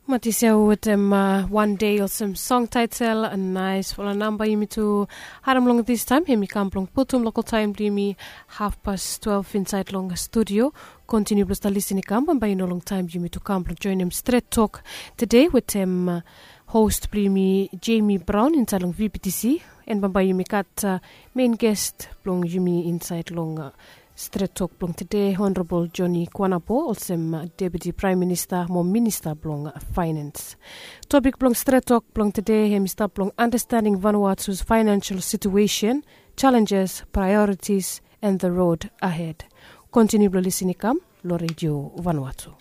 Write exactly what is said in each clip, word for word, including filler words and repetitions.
Matis ya wetem wan dei olsem song taitel nais fala namba yumi tu harim long distaim hem i kam blong putum lokal taim blong yumi hafpas twelve insaid long studio. Kontiniu blong stap lisin i kam bambae i no long taim blong yumi tu kam blong joinim stret tok tede wetem host blong yumi, Jemi Braun insaid long vptc. En bambae yumi gat mein gest blong yumi insaid long stret tok blong tede, honorabol Joni Kuanabo olsem deputi praem minista mo minista blong faenens. Topik blong stret tok blong tede hem i stap long andastaning Vanuatus faenensel situesen, jalenjes, praeoritis, en the rod ahed. Kontiniu blong lisin i kam long redio Vanuatu.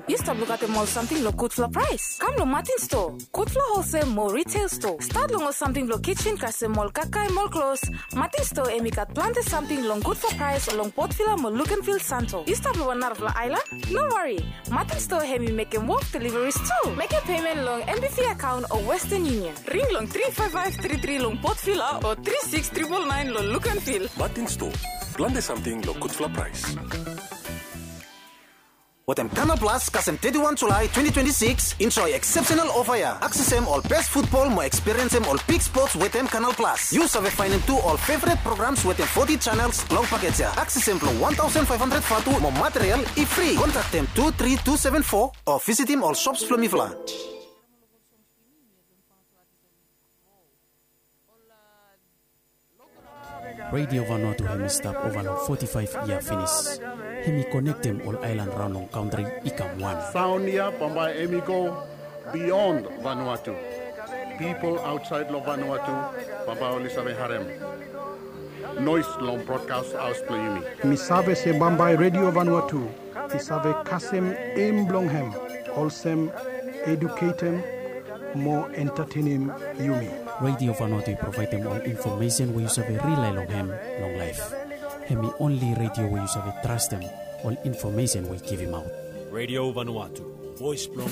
Yu stap lukaotem ol samting long gudfala praes? Kam long Matin Stoa. Gudfala holsel mo riteil stoa, stat long ol samting blong kijen kasem ol kakae mo ol klos. Matin Stoa hem i gat plante samting long gudfala praes long Port Vila mo Luganville, Santo. Yu stap long wan narafala aelan? No wari. Matin Stoa hem i mekem wok deliveries tu. Mekem pemen long NBV akaon o Western Union. Ring long tri faef faef tri tri long Port Vila o tri siks tripol naen long Luganville. Matin Stoa, plante samting long gudfala praes. Wetem Kanal Plus kasem teti wan Julae twenti twenti sikis, enjoe eksepsenal ofa ya. Aksesem ol bes futbol mo ekspiriensem ol big spots wetem Kanal Plus. Yu save faenem tu ol feveret programs wetem foti janels long pakej ya. Aksesem blong wan taosen faef handred vatu mo material i fri. Kontraktem tu tri tu seven fo o visitim ol sops blong mifala. Redio Vanuatu hem i stap ova long foti faef yia finis. Hem i konektem ol aelan raon long kantri i kam wan. Saon ya bambae hem i go bion Vanuatu. Pipol aotsaed long Vanuatu bambae oli save harem noes long brodkas haos blong yumi. Mi save se bambae Redio Vanuatu i save kasem em blong hem olsem eduketem mo entatenem yumi. Redio Vanuatu i provaedem ol infomesen we yu save rilae long hem long laef. Hem i onli redio we yu save trastem ol infomesen we i givimaot. Redio Vanuatu, voes blong